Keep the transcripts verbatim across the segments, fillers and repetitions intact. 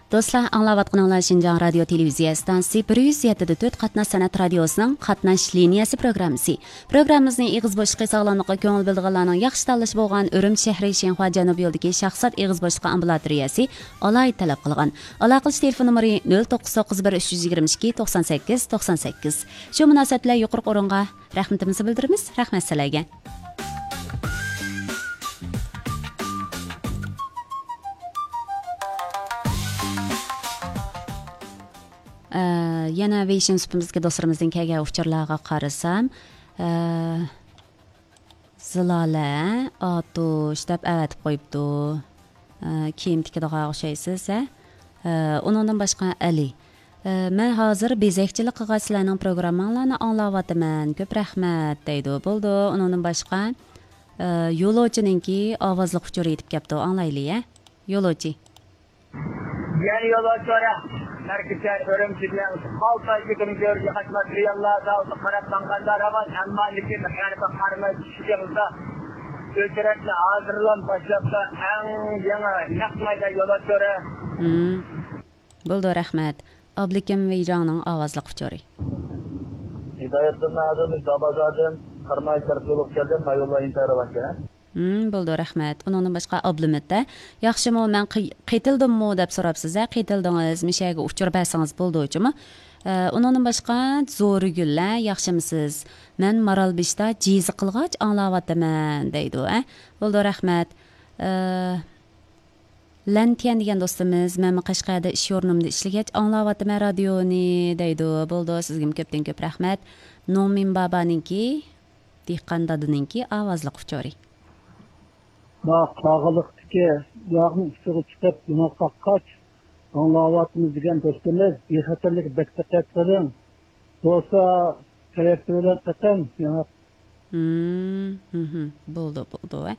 دوستلار، ئاڭلاۋاتقىنىڭلار شىنجاڭ رادىيو تېلېۋىزىيە ئىستانسىسى بىر يۈز يەتتە دە تۆت قاتناش سەنئەت رادىيوسىنىڭ قاتناش لىنىيەسى پروگراممىسى. پروگراممىمىزنى ئېغىز بوشلۇقى ساغلاملىققا كۆڭۈل بۆلىدىغانلارنىڭ ياخشى تاللىشى بولغان ئۈرۈمچى شەھىرى شىنخۇا جەنۇبىي يولىدىكى شاھزات ئېغىز بوشلۇقى ئامبۇلاتورىيەسى ئالاھىدە تەلەپ قىلغان. ئالاقىلىشىش تېلېفون نومۇرى نۆل توققۇز توققۇز بىر ئۈچ يۈز يىگىرمە ئىككى توقسان سەككىز توقسان سەككىز. شۇ مۇناسىۋەت بىلەن يۇقىرىقى ئورۇنغا رەھمىتىمىزنى بىلدۈرىمىز. رەھمەت سىلەرگە. ئە، يەنە ۋېيشىن سۇپىمىزدىكى دوستلىرىمىزدىن كەلگەن ئۇچۇرلارغا قارىسام، ئە، زىلالە ئاتۇش دەپ ئەۋەتىپ قويۇپتۇ. ئە، كىيىم تىكىدىغان ئوخشايسىز، ھە؟ ئە، ئۇنىڭدىن باشقا ئەلى. ئە، مەن ھازىر بېزەكچىلىك قىلغاچ سىلەرنىڭ پروگرامماڭلارنى ئاڭلاۋاتىمەن. كۆپ رەھمەت، دەيدۇ. بولىدۇ. ئۇنىڭدىن باشقا، ئە، يولۇچىنىڭكى ئاۋازلىق ئۇچۇرى يېتىپ كەپتۇ. ئاڭلايلى، ھە؟ يولۇچى. يەنە يول ئاچۇرە. مەركىزى ئۈرۈمچى بىلەن قالتاي كۆتۈرۈپ يۈرگەن قاچماس رېئاللار داۋۇتقا قاراپ ماڭغاندا راۋان، ئەمما لېكىن ھەربىي قارىماي چۈشكەندا ئۆچرەتنى ھازىرلام باشلاپتا ئەڭ يېڭى نەق مەيدان يول ئاچۇرە. مم. بولدى، رەھمەت. ئابلىكىم ۋېيجاڭنىڭ ئاۋازلىق ئۇچۇرى. ھىدايەتدىن ئادىل، دابازادىن، قاراماي تەرەپ يولغا كەلدىم، ما يوللار ئىنتايىن راۋانكەن. ھىم، بولدى، رەھمەت. ئۇنىڭدىن باشقا ئابلىمىت، ھە؟ ياخشىمۇ، مەن قى-، قېتىلدىممۇ دەپ سوراپسىز، ھە؟ قېتىلدىڭىز، مىشەگە ئۇچۇر بەرسىڭىز بولىدۇ، جۇمۇ. ئە، ئۇنىڭدىن باشقا زورىگۈل، ھە؟ ياخشىمسىز؟ مەن مارالبېشىدا جىزا قىلغاچ ئاڭلاۋاتىمەن، دەيدۇ، ھە؟ بولدى، رەھمەت. ئە، لەنتيەن دېگەن دوستىمىز، مەنمۇ قەشقەردە ئىش ئورنۇمدا ئىشلىگەچ ئاڭلاۋاتىمەن رادىيونى، دەيدۇ. بولدى، سىزگىمۇ كۆپتىن كۆپ رەھمەت. نوڭمىن بابانىڭكى، دېھقان دادىنىڭكى ئاۋازلىق ئۇچۇرى. ما قاغىلىقتىكى ياغنىڭ ئۇچىغا چىقىپ ياڭاق قاققاچ ئاڭلاۋاتىمىز دېگەن دوستىمىز، بىخەتەرلىككە بەك دىققەت قىلىڭ. بولسا تەييار بىلەن قېتىڭ ياڭاق. ھىم، ھىم، ھىم. بولدى، بولدى، ھە.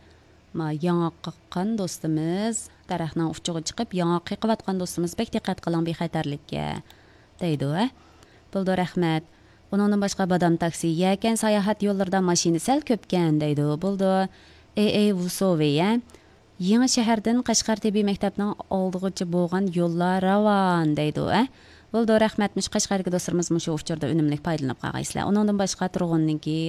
ما ياڭاق قاققان دوستىمىز، دەرەخنىڭ ئۇچىغا چىقىپ ياڭاق قېقىۋاتقان دوستىمىز، بەك دىققەت قىلىڭ بىخەتەرلىككە، دەيدۇ، ھە. بولدى، رەھمەت. ئۇنىڭدىن باشقا بادام تاكسى، يەكەن ساياھەت يوللىرىدا ماشىنا سەل كۆپكەن، دەيدۇ. بولدى. ئېي، ئېي، ۋۇسوۋى، ھە. يېڭى شەھەردىن قەشقەر تېببىي مەكتەپنىڭ ئالدىغىچە بولغان يوللار راۋان، دەيدۇ، ھە. بولدى، رەھمەت. مۇشۇ قەشقەردىكى دوستلىرىمىز مۇشۇ ئۇچۇردا ئۈنۈملۈك پايدىلىنىپ قالغايسىلەر. ئۇنىڭدىن باشقا تۇرغۇننىڭكى